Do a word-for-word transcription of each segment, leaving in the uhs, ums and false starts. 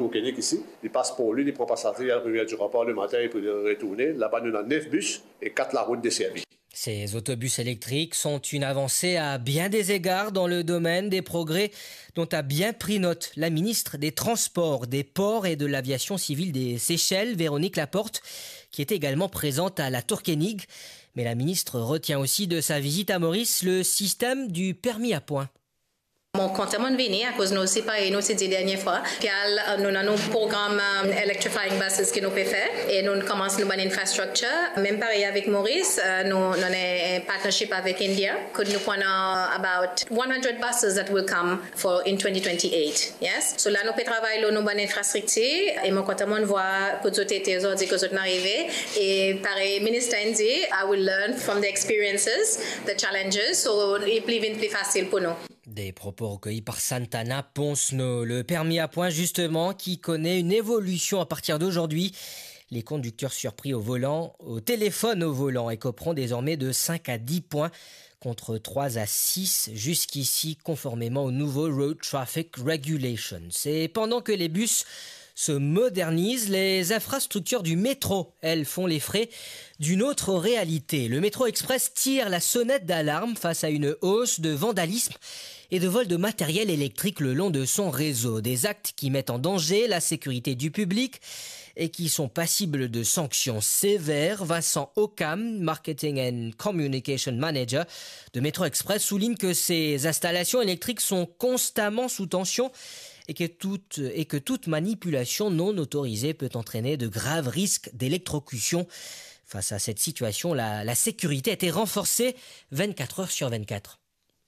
Tourkenig isi, li pas Porlin, li pran pasaze, li al Rivière du Rempart le matin e pou retourne. Laba nou ena nef bis e kat larout deservi. Ces autobus électriques sont une avancée à bien des égards dans le domaine des progrès dont a bien pris note la ministre des Transports, des Ports et de l'Aviation civile des Seychelles, Véronique Laporte, qui était également présente à la Tourkenig. Mais la ministre retient aussi de sa visite à Maurice le système du permis à points. Mo kontan mo'nn vini akoz nou osi parey nou ti dir dernie fwa. Pial, euh, nou ena nou program, euh, electrifying buses ki nou pe fer e nou komans nou bann infrastructure. Mem parey avek Maurice, euh, nou, nou ena partnership avek India. Kot nou pou ena about one hundred buses that will come for in twenty twenty-eight. Yes. So la nou pe travay lor nou bann infrastriktir e mo kontan mo'nn vwar kot zot ete, zot dir kot zot inn arive. E parey minister inn dir, I will learn from the experiences, the challenges. So, li pli vinn pli fasil pou nou. Des propos recueillis par Santana Ponsno. Le permis à points, justement, qui connaît une évolution à partir d'aujourd'hui. Les conducteurs surpris au volant, au téléphone au volant, écoperont désormais de cinq à dix points contre trois à six jusqu'ici, conformément aux nouveaux Road Traffic Regulations. Et pendant que les bus se modernisent, les infrastructures du métro, elles, font les frais d'une autre réalité. Le Métro Express tire la sonnette d'alarme face à une hausse de vandalisme et de vol de matériel électrique le long de son réseau. Des actes qui mettent en danger la sécurité du public et qui sont passibles de sanctions sévères. Vincent Occam, Marketing and Communication Manager de Métro Express, souligne que ces installations électriques sont constamment sous tension et que toute, et que toute manipulation non autorisée peut entraîner de graves risques d'électrocution. Face à cette situation, la, la sécurité a été renforcée vingt-quatre heures sur vingt-quatre.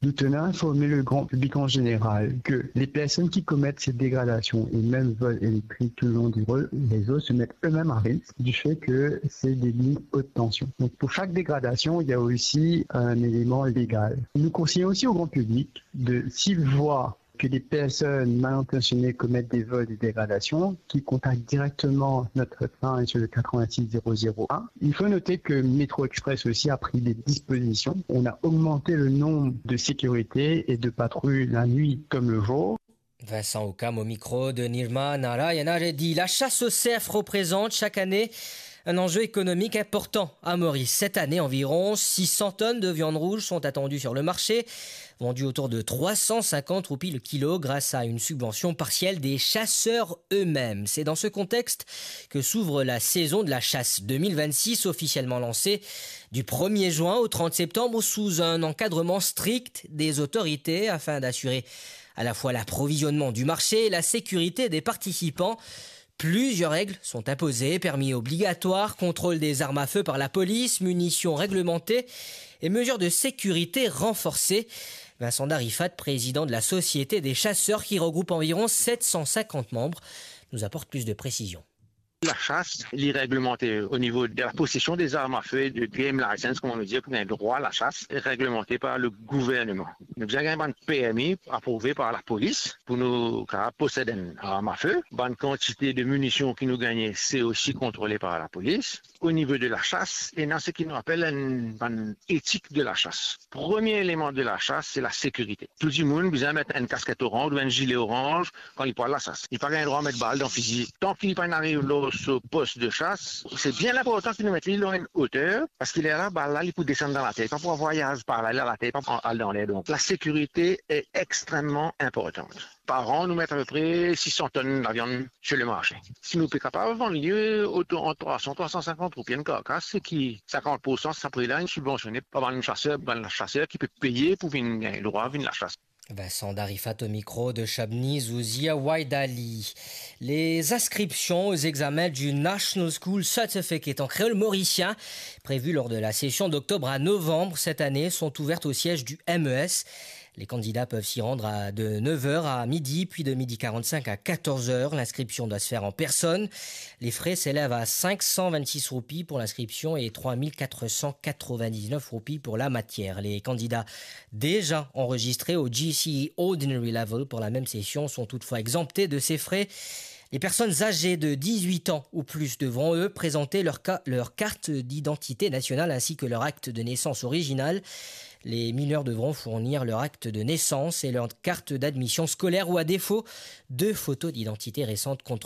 Nous tenons à informer le grand public en général que les personnes qui commettent ces dégradations et même vols électriques tout le long du re-, réseau se mettent eux-mêmes à risque du fait que c'est des lignes haute tension. Donc pour chaque dégradation, il y a aussi un élément légal. Nous conseillons aussi au grand public de, s'ils voient que des personnes mal intentionnées commettent des vols, des dégradations, qu'ils contactent directement notre hotline sur le quatre-vingt-six zéro zéro un. Il faut noter que Métro Express aussi a pris des dispositions. On a augmenté le nombre de sécurité et de patrouilles la nuit comme le jour. Vincent Occam au micro de Nirma Narayana Reddy. La chasse au cerf représente chaque année un enjeu économique important à Maurice. Cette année, environ six cents tonnes de viande rouge sont attendues sur le marché, vendues autour de trois cent cinquante roupies le kilo grâce à une subvention partielle des chasseurs eux-mêmes. C'est dans ce contexte que s'ouvre la saison de la chasse deux mille vingt-six, officiellement lancée du premier juin au trente septembre sous un encadrement strict des autorités afin d'assurer à la fois l'approvisionnement du marché et la sécurité des participants. Plusieurs règles sont imposées, permis obligatoire, contrôle des armes à feu par la police, munitions réglementées et mesures de sécurité renforcées. Vincent Darifat, président de la Société des chasseurs qui regroupe environ sept cent cinquante membres, nous apporte plus de précisions. La chasse, li réglementé au niveau de la possession des armes à feu, de game license, kouma nou dir, pou gagn drwa la chasse, réglementé par le gouvernement. Nou bizin gagn bann permi aprouve par la police pou nou kapav posed enn arm a fe. Bann kantite de munision ki nou gagne, se osi kontrole par la police. Au niveau de la chasse, ena seki nou apel enn bann éthique de la chasse. Premier élément de la chasse, c'est la sécurité. Tou dimoun bizin met enn kasket oranz ou enn zile oranz kan li pou al lasas. Li pa gagn drwa met bal dan fizi. Tan ki li pa ariv lor so pos de chas, se bien inportan ki nou met li lor enn oter, parski lerla bal la, li pou desann dan later, li pa pou vwayaz par la, li al ater, li pa pou al dan ler. Donk, la sécurité est extrêmement importante. Par an, nou met apepre sis san tonn laviann sur le marché. Si nou pe kapav vann li, euh, otour ant trwa san, trwa san sinkant roupi enn karkas, se ki sinkant pour san, sa pre la, inn sibvansione par bann chaser, bann chaser ki pe peye pou vinn gagn drwa vinn lasas. Vincent Darifat au micro de Shabni Zouzia Waidali. Les inscriptions aux examens du National School Certificate en créole mauricien, prévues lors de la session d'octobre à novembre cette année, sont ouvertes au siège du M E S. Les candidats peuvent s'y rendre à, de neuf heures à midi, puis de midi quarante-cinq à quatorze heures. L'inscription doit se faire en personne. Les frais s'élèvent à cinq cent vingt-six roupies pour l'inscription et trois mille quatre cent quatre-vingt-dix-neuf roupies pour la matière. Les candidats déjà enregistrés au G C E Ordinary Level pour la même session sont toutefois exemptés de ces frais. Les personnes âgées de dix-huit ans ou plus devront, eux, présenter leur ca-, leur carte d'identité nationale ainsi que leur acte de naissance original. Les mineurs devront fournir leur acte de naissance et leur carte d'admission scolaire ou, à défaut, deux photos d'identité récentes contre